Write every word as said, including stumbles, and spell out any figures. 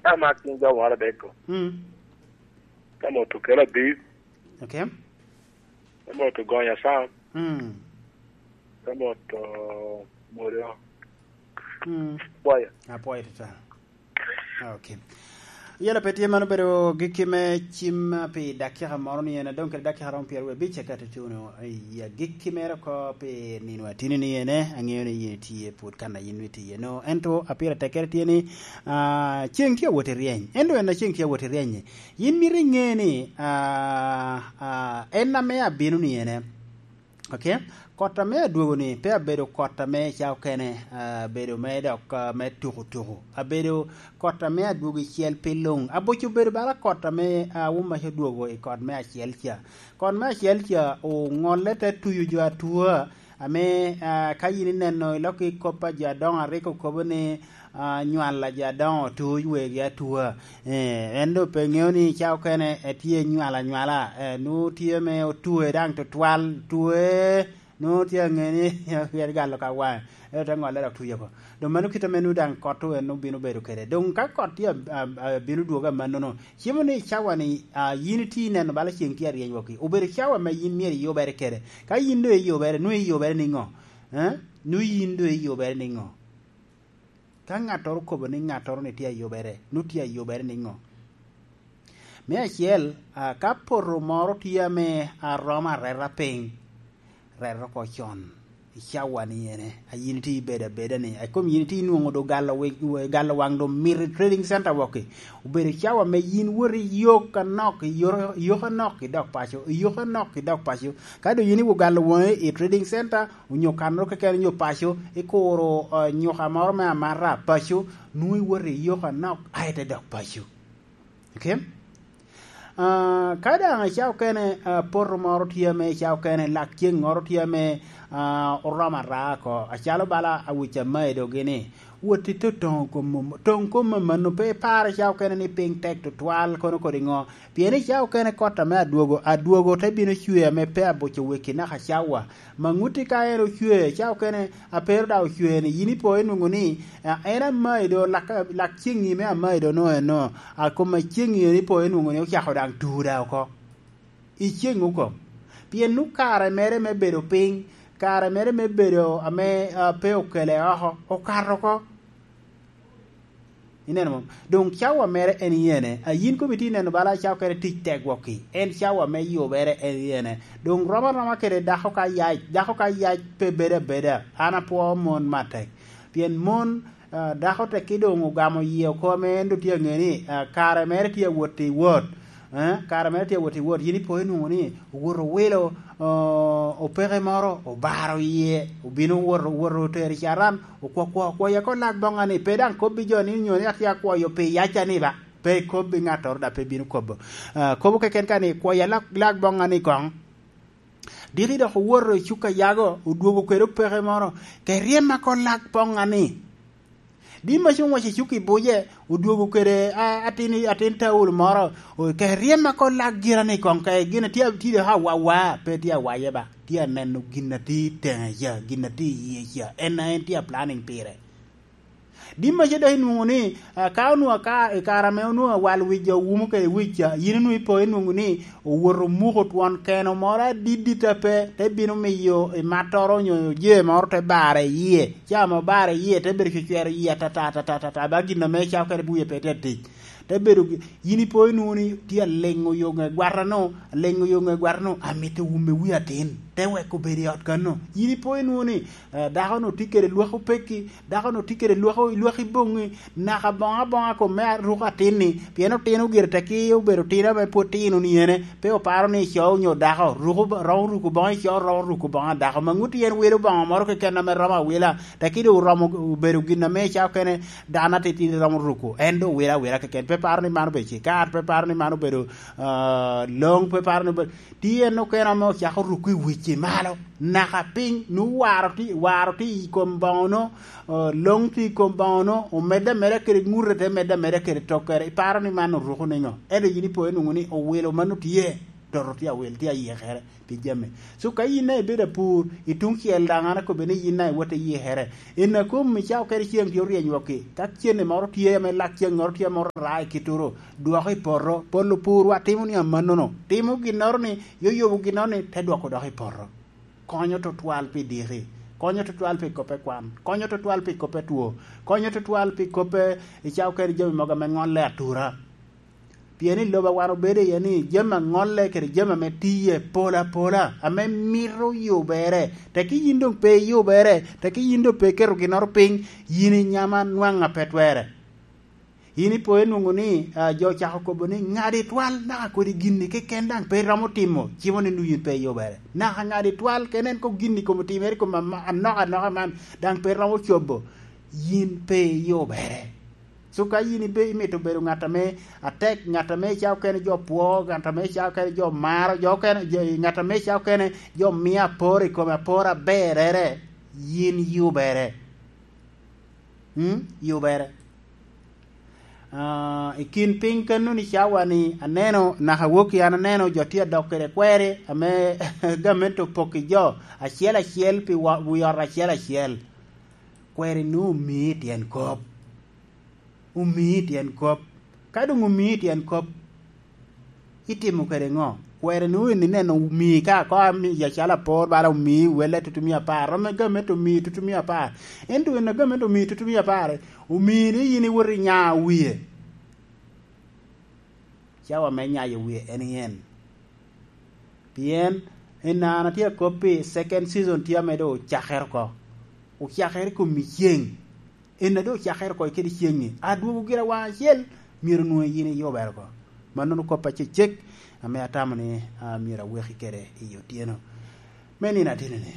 Ka mak cing jo moro adek-gu. Mm. Ka moto kelo abib. Okay. Ka moto gonya sam. Mm. Ka moto modo. Mm. Apwoyo. Apwoyo tutwal. Okay. Yela pe tye, mano obedo gikki me cim pi dakika moro ni en, adong kede dakika romo pyeraryo abic eka tutuno i agikki mere oko pi nino atini ni ene, aŋeo ni yin itye pwod kan a yin itye no. Ento apira tekkere tye ni, ah, ceng tye awot i ryeny. Ento en a ceng tye awot i ryeny-nyi, yin mito iŋe ni, ah, ah, en ame abino ni ene. Okay? Kot ame adwogo-ni pe abedo kot ame ca okene, ah, abedo me dok, ah, me tuko tuko. Abedo kot ame adwogo i cel pi luŋ. Aboco obedo bala kot ame, ah, Awumaco odwogo i kot me acel ca. Kot me acel ca oŋolle te tuyo jo atua, ame, ah, ka yin ineno i lok i kop a jo adoŋo a rik okobo ni, ah, nywal a jo adoŋo otur wegi atua. Eh, en doŋ pe ŋeo ni ca okene etye nywal anywala, eh, nwoŋo tye me otue daŋ tutwal, tue, nwoŋo tye aŋe ni pien galo ka waŋe, en ote ŋolle dok tuye oko. Doŋ mano kit ame nwoŋo daŋ kot en obino bedo kede. Doŋ ka kot tye ab-, ab-, abino dwogo amannono, cimo ni cawa-ni, ah, yin itye ineno bala ceng tye aryeny wokki. Obedo cawa ame yin myero iyubere kede. Ka yin doŋ iyubere, nwoŋo iyubere niŋo? Eh? Nwoŋo yin doŋ iyubere niŋo? Ka ŋattoro okobo ni ŋattoro-ni tye ayubere, nwoŋo tye ayubere niŋo? Me acel, ah, ka poto moro tye ame aromo areta piny, ret oko con i cawa-ni ene, a yin itye ibedo abeda-ni, a kom yin itye inwoŋo doŋ galo wi-, wi-, galo waŋ doŋ mito i trading center wokki, obedo cawa me yin wot i yok anok, i yor-, i yok anok idok paco, i yok anok idok paco. Ka doŋ yin iwogalo waŋi i trading center, onyo kannoro keken onyo paco, ikuro, eh, nyuka moro me amata paco, nwoŋo iwoto i yok anok, aye ite dok paco. Okay? Ah, ka daŋ ica okene, ah, poto moro tye ame ica okene, lak ceng moro tye ame, ah, oromo ara oko, acalo bala awic amayi dogi ni, wot ito toŋo kom, toŋ kom amanno, pe ipar ica okene ni piny tek tutwal, kono kodi ŋo? Pien ica okene kot ame adwogo, adwogo te bino cwe ame pe abuco weki naka cawa. Maŋuti ka en ocwe, ca okene a pe ru daŋ ocwe-ni, yin ipo inwoŋo ni, a, en amayi do, lak, lak ceŋŋi me amayi do no eno, a kom a ceŋŋi en ipo inwoŋo ni ocako daŋ tur daŋ oko. I ceŋ oko. Pien nu kare mere me bedo piny, kare mere me bedo ame, a, pe okele oko, okato oko. Ineno mo? Doŋ cawa mere en iyene. A yin komi tye ineno bala cawa kede tic tek wokki. En cawa me yubere en iyene. Doŋ rom aroma kede dako ka yac. Dako ka yac pe bedo abeda. An apwoo mon matek. Pien mon, ah, dako tekki doŋ ogamo yie oko ame en doŋ tye aŋe ni, ah, kare mere tye awot i wot. Eh, kare mere tye awot i wot. Yin ipo inwoŋo ni owoto owilo, o-, opeke moro, obaro yie, obino owoto, owoto otero i caran, okwo-, kwo-, okwoya ko lak boŋa ni, pe daŋ kobbi jo ni onyo ni atye akwoyo pi yaca ni ba, pe ikobbi ŋattoro daŋ pe bino kobo. Ah, kobo keken ka ni, kwoya lak, lak boŋa ni koŋ. Diki dok owoto i cuka yago, odwogo kede opeke moro, ke ryemma ko lak boŋa ni. Di ma cuŋ wac i cuk i buce, odwogo kede, a, atin, atin Taulo moro, o, ke ryemma ko lak gira ni koŋ, ke gin a tye, tye dok awawa, pe tye awaye ba, tye aneno gin a tye i teŋe ca, gin a tye i yie ca, en a en tye a planning pire. Di ma ce dok inwoŋo ni, a, ka onwoŋo aka-, i kare ame onwoŋo awal wic jo wumo kede wic ca, yin onwoŋo ipo inwoŋo ni, owoto omuko twon keno moro adit dit a pe, te bino miyo i mattoro onyo jee moro te bare i yie. Ca ame obare i yie, te bedo cwecwero yie atata, atata, atata, ba gin ame icako kede buye pe tye tic. Te bedo gi-, yin ipo inwoŋo ni tye aleŋo yo ŋe gwatano, aleŋo yo ŋe gwatano, amito wume wi atin, te weko bedo i ot kanno. Yin ipo inwoŋo ni, eh, dako-nu tye kede lwak opekki, dako-nu tye kede lwak, lwak i boŋŋi, naka boŋo aboŋa kom me aruko atin-ni, pien otino gire tekki obedo tino ame pwod tino ni ene, pe oparo ni ico onyo dako, ruko, romo ruko boŋo ico, romo ruko boŋo dako, ma ŋutti en wilo boŋo moro keken ame romo awila, tekki doŋ oromo obedo gin ame ica okene dano atitidi romo ruko, en doŋ wilo awila keken, pe paro ni mano obedo cikar, pe paro ni mano obedo, ah, loŋ, pe paro ni obedo, tye en okene ame ocako ruko i wic i malo, naka piny, nu waro tye, waro tye i kom boŋono, eh, loŋ tye i kom boŋono, omedde ameda kede ŋute, te medde ameda kede tokkere. Iparo ni man oruko niŋo? Ento yin ipo inwoŋo ni owilo mano tye. Toto tye awil, tye ayikere pi jami. So ka yin daŋ ibedo apur, i tuŋ cel daŋ an akobbe ni yin daŋ iwot iyikere. In a kom i cawa kede ceŋ tye oryeny wokki. Ka cene moro tye ame lak ceŋ moro tye moro raa i kitoro, dwoko i poto. Pol opurwa timo ni amannono. Timo ginnoro ni, yoyobo ginnoro ni, te dwoko dok i poto. Konyo tutwal pi diki. Konyo tutwal pi koppe kwan. Konyo tutwal pi koppe two. Konyo tutwal pi koppe i cawa kede jami mogo ame ŋolle atura. Pien i lobo a wan obedo iye ni, jami a ŋolle kede jami ame tiye pol apola, ame mito yubere. Tekki yin doŋ pe iyubere, tekki yin doŋ pe iketo ginnoro piny, yin inyama nwaŋ a pe twerre. Yin ipo inwoŋo ni, ah, jo ocako kobo ni, "Ŋadi twal naka kodi ginni keken daŋ pe iromo timo, cimo ni nwoŋo yin pe iyubere." Naka ŋadi twal kene en kok ginni kom otimere i kom ama-, anok anoka man, daŋ pe iromo cobo, yin pe iyubere. So ka yin ibe-, imito bedo ŋat ame atek, ŋat ame i cawa okene jo pwo, ŋat ame i cawa okene jo maro, jo okene, jo, ŋat ame i cawa okene jo mio apor i kome, apor aberere, yin yubere. Mm? Yubere. Ah, i kin piny kano ni cawa ni aneno, naka wokki an aneno jo tye adok kede kweri ame gamente opok i jo acel acel pi wa-, wi ot acel acel. Kweri nu omii tyen kop. Omii tyen kop. Ka doŋ omii tyen kop, itimo kede ŋo? Kweri nu in ineno omii ka ko ami acalo apor bala omii welle tutumia apar, romo gamente omii tutumia apar. Ento in a gamente omii tutumia apar, omii ni yin iwot inya wie. Cawa me nyayo wie en i en. Pien i nana tye akop pi second season tye ame doŋ ocakere oko. Ocakere i kom i ceŋ. En a doŋ ocakere oko kede ceŋ-ŋi. Adwogo gira waŋ acel, myero nwoŋo yin iyubere oko. Mannono kop acecek ame atamo ni, ah, myero aweki kede i otyeno me nino atino-ni.